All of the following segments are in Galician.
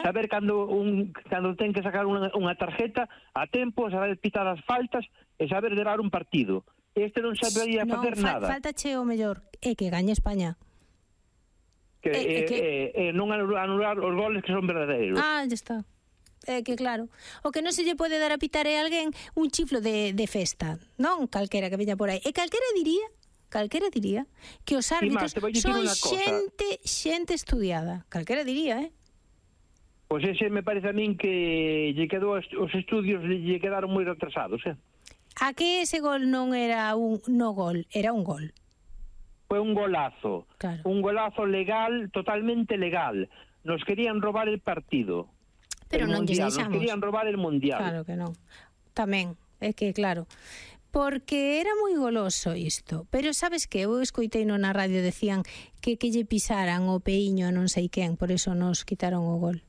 saber cando ten que sacar unha tarjeta a tempo, saber pitar as faltas e saber levar un partido. Este non sabería facer nada. Faltache o mellor, é que gañe España. Non anular os goles que son verdadeiros. Ah, ya está. Que claro, o que non se lle pode dar a pitar é alguén un chiflo de festa, non calquera que veña por aí. E calquera diría que os árbitros son xente estudiada. Calquera diría, Pois ese me parece a min que lle quedou os estudios lle quedaron moi retrasados, A que ese gol non era un gol, era un gol. Foi un golazo, claro. Un golazo legal, totalmente legal. Nos querían robar el partido. Pero non lles deixamos. Nos querían robar el mundial. Claro que non. Tamén, é que claro, porque era moi goloso isto. Pero sabes que eu escoitei na radio decían que lle pisaran o peiño a non sei quen, por eso nos quitaron o gol.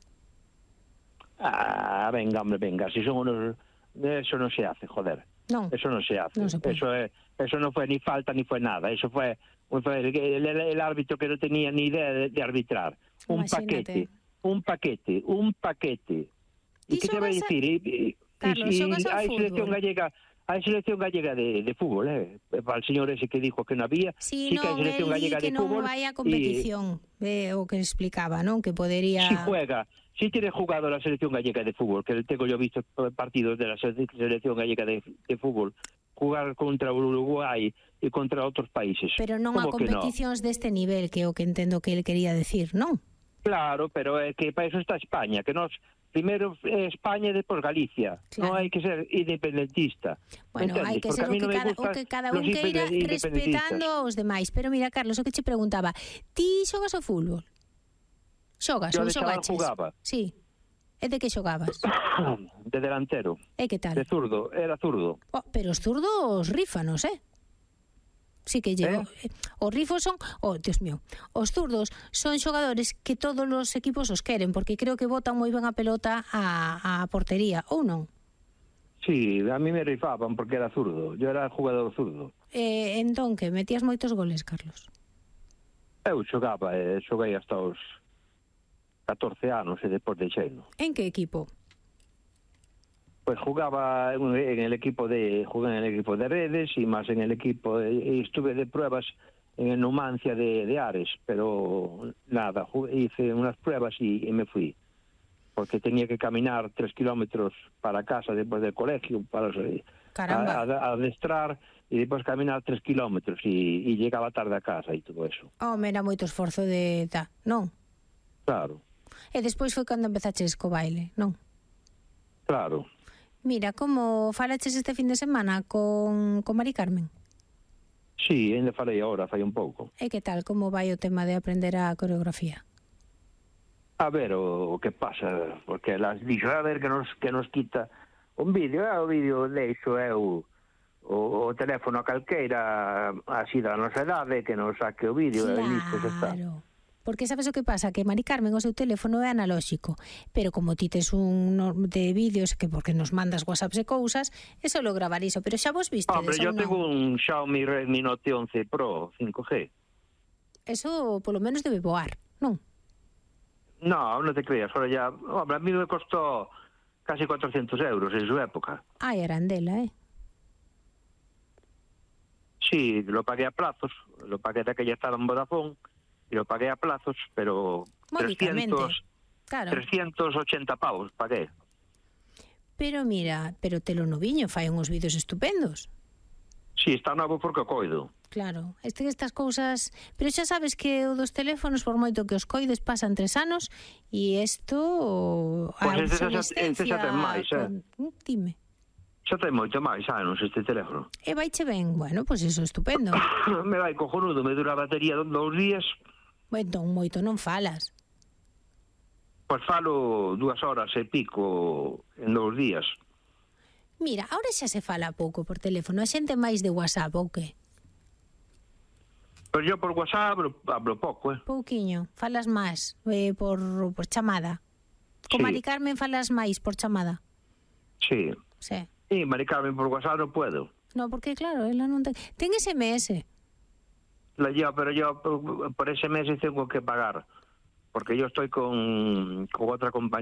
Venga, hombre, venga, si son unos... Eso non se hace, joder. Non. Eso non se hace. Non se eso non foi ni falta ni foi nada. Eso fue el árbitro que non tenía ni idea de arbitrar. Imagínate. Un paquete. E que te vai dicir? Carlos, xogas ao fútbol. Hai selección gallega de fútbol, para el señor ese que dijo que non había. Sí, que hai selección gallega de fútbol. Non vai a competición, o que explicaba, non? Que podería... Si tiene jugado la selección gallega de fútbol, que tengo yo visto partidos de la selección gallega de fútbol, jugar contra Uruguay e contra outros países. Pero non a competicións deste nivel, que é o que entendo que ele quería decir, non? Claro, pero é que para eso está España, que nos primeiro España e depois Galicia. Claro. Non hai que ser independentista. Bueno, hai que ser o que cada un queira respetando os demais. Pero mira, Carlos, o que che preguntaba, ti xogas ao fútbol? Xogas ou xogaches? Eu jugaba. Sí. E de que xogabas? De delantero. E que tal? De zurdo, era zurdo. Pero os zurdos rífanos, Sí que llevo. Os rifos son, Dios mío, os zurdos son xogadores que todos os equipos os queren, porque creo que botan moi ben a pelota a portería, ou non? Sí, a mí me rifaban porque era zurdo. Yo era jugador zurdo. Entón, que metías moitos goles, Carlos? Eu xoguei hasta os 14 anos e depois deixeino. En que equipo? Pues jugaba en el equipo de Redes y más en el equipo estuve de pruebas en el Numancia de Ares, pero nada, hice unas pruebas y me fui, porque tenía que caminar 3 kilómetros para casa después del colegio para adestrar y después caminar 3 kilómetros y llegaba tarde a casa y todo eso. Era moito esforzo non? Claro. E despois foi cando empezaches co baile, non? Claro. Mira, como falaches este fin de semana con Mari Carmen? Sí, ainda falei agora, fai un pouco. E que tal, como vai o tema de aprender a coreografía? A ver, o que pasa, porque las dixo, a ver que nos quita un vídeo, o vídeo deixo o teléfono a calqueira así da nosa edade, que nos saque o vídeo, e listo, xa está. Claro. Porque sabes o que pasa? Que Mari Carmen o seu teléfono é analóxico, pero como ti tes un de vídeos que porque nos mandas whatsapps e cousas, é só gravar iso, pero xa vos viste. Hombre, yo tengo un Xiaomi Redmi Note 11 Pro 5G. Eso polo menos debe voar, non? No, non te creas, ahora ya, hombre, a mí me costó casi 400 euros en su época. Eran dela, Sí, lo pagué a plazos, lo pagué de aquella estaba en Vodafone, y lo pagué a plazos, pero 380 pavos pagué. Pero mira, pero te lo noviño, fai uns vídeos estupendos. Sí, está novo porque o coido. Claro, estas cousas... Pero xa sabes que o dos teléfonos, por moito que os coides, pasan 3 anos, e isto... Pois este xa ten máis, Dime. Xa ten moito máis anos este teléfono. E vaiche ben, bueno, pois iso é estupendo. Me vai cojonudo, me dura a batería 2 días... Entón, moito non falas. Pois falo 2 horas e pico en 2 días. Mira, ahora xa se fala pouco por teléfono. A xente máis de WhatsApp, ou que? Pois yo por WhatsApp hablo pouco, Pouquiño. Falas máis por chamada. Con Mari Carmen falas máis por chamada. Sí. Sí. E Mari Carmen por WhatsApp non puedo. No, porque claro, ela non ten... Ten SMS. Pero yo por ese mes tengo que pagar, porque yo estoy con otra compañía.